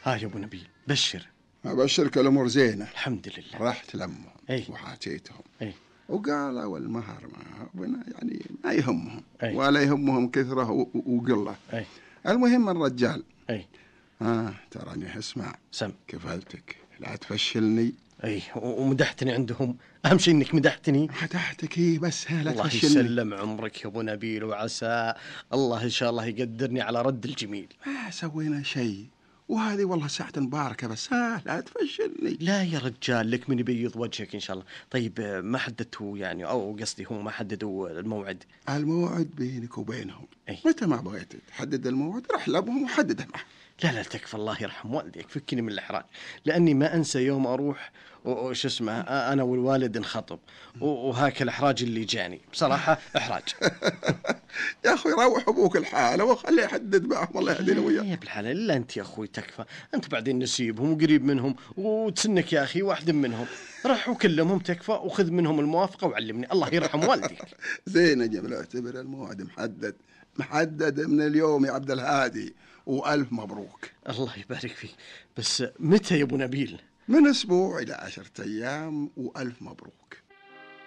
ها يا ابو نبيل بشر. أبشرك الأمور زينة الحمد لله. رحت لأمهم وحاجيتهم وقالوا المهر يعني ما يهمهم ولا يهمهم كثرة وقلة. المهم الرجال تراني اسمع كفالتك لا تفشلني. ومدحتني عندهم، أهم شيء إنك مدحتني. مدحتك بس لا الله تفشلني. يسلم عمرك يا أبو نبيل، وعسى الله إن شاء الله يقدرني على رد الجميل. ما سوينا شيء وهذه والله ساعة مباركة، بس لا تفشلني. لا يا رجال لك من يبيض وجهك إن شاء الله. طيب ما حددتوا يعني، أو قصدي هم ما حددوا الموعد؟ الموعد بينك وبينهم. متى ما بغيت تحدد الموعد رح لابهم وحدده معه. لا تكفى، الله يرحم والديك، فكني من الإحراج، لأني ما أنسى يوم أروح وش اسمه أنا والوالد نخطب وهاك الإحراج اللي جاني بصراحة إحراج. يا أخوي روح أبوك الحالة وخليه يحدد معهم، الله يهدينا وياه. يا بالحالة إلا أنت يا أخوي تكفى، أنت بعدين نسيبهم وقريب منهم وتسنك يا أخي واحد منهم، رح وكلمهم تكفى وخذ منهم الموافقة وعلمني، الله يرحم والديك. زين جميل، اعتبر الموعد محدد من اليوم يا عبد الهادي، وألف مبروك. الله يبارك فيك، بس متى يا أبو نبيل؟ من أسبوع إلى 10 أيام وألف مبروك.